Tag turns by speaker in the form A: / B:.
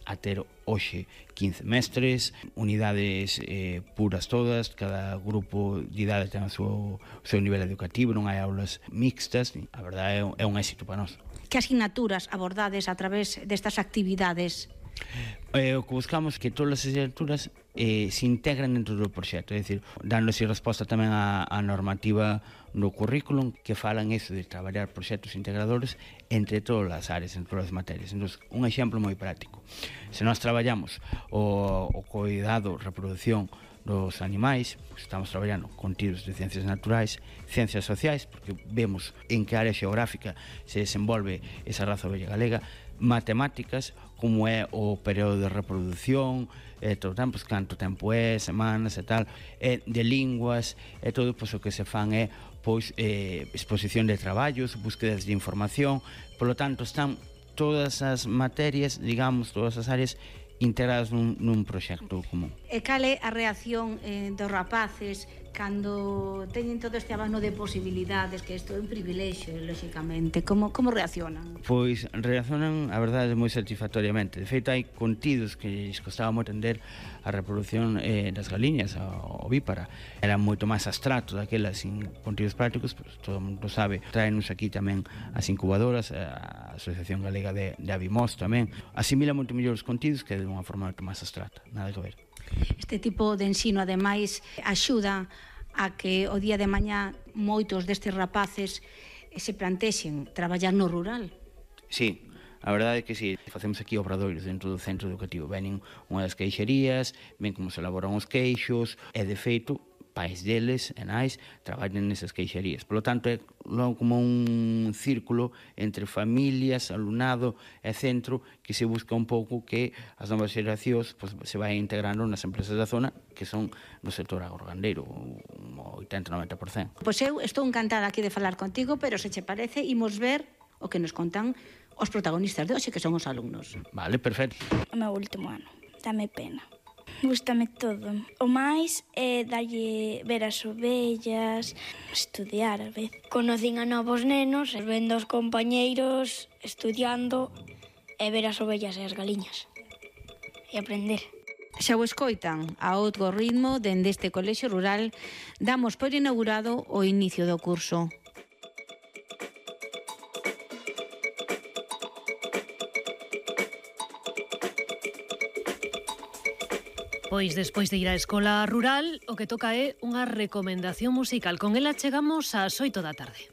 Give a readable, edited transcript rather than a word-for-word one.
A: a ter hoxe 15 mestres, unidades puras todas, cada grupo de idade ten o seu nivel educativo, non hai aulas mixtas, a verdade é un éxito para nós.
B: Que asignaturas abordades a través destas actividades?
A: O que buscamos é que todas as asignaturas se integran dentro do proxecto, é dicir, dándose resposta tamén á normativa no currículum que falan eso de traballar proxectos integradores entre todas as áreas, entre todas as materias. Entón, un exemplo moi práctico, se nós traballamos o cuidado, reproducción dos animais, pues estamos traballando contidos de ciencias naturais, ciencias sociais, porque vemos en que área xeográfica se desenvolve esa raza ovella galega, matemáticas, como é o período de reproducción, todo o tempo, canto tempo é, semanas e tal, de linguas, e todo pois, o que se fan é pois, exposición de traballos, búsquedas de información, polo tanto están todas as materias, digamos, todas as áreas integradas nun proxecto común.
B: E cal é a reacción dos rapaces cando teñen todo este abano de posibilidades, que isto é un privilexio, lóxicamente? Como reaccionan?
A: Pois reaccionan, a verdade, moi satisfactoriamente. De feito, hai contidos que lles costaba moito entender a reproducción das galiñas, ovípara. Era moito máis abstracto daquela, sin contidos prácticos, pues, todo o mundo sabe. Traenos aquí tamén as incubadoras, a Asociación Galega de Avimos tamén. Asimila moito mellor os contidos que de unha forma moito máis abstracta, nada que ver.
B: Este tipo de ensino, ademais, axuda a que o día de mañá moitos destes rapaces se plantexen traballar no rural.
A: Sí, a verdade é que sí, facemos aquí obradoiros dentro do centro educativo. Venen unha das queixerías, ven como se elaboran os queixos, e de feito pais deles e nais traballan nesas queixerías. Por lo tanto, é como un círculo entre familias, alumnado e centro que se busca un pouco que as novas xeracións pues, se vai integrando nas empresas da zona que son do sector agrogandeiro, un 80-90%.
B: Pois eu estou encantada aquí de falar contigo, pero se che parece, imos ver o que nos contan os protagonistas de hoxe, que son os alumnos.
A: Vale, perfecto.
C: O meu último ano, dame pena. Gústame todo. O máis é darlle ver as ovellas, estudiar a vez.
D: Conocín a novos nenos, vendo os compañeiros, estudiando e ver as ovellas e as galiñas. E aprender.
B: Xa o escoitan, a outro ritmo, dende este colexio rural, damos por inaugurado o inicio do curso.
E: Pois despois de ir á escola rural, o que toca é unha recomendación musical. Con ela chegamos ás 8 da tarde.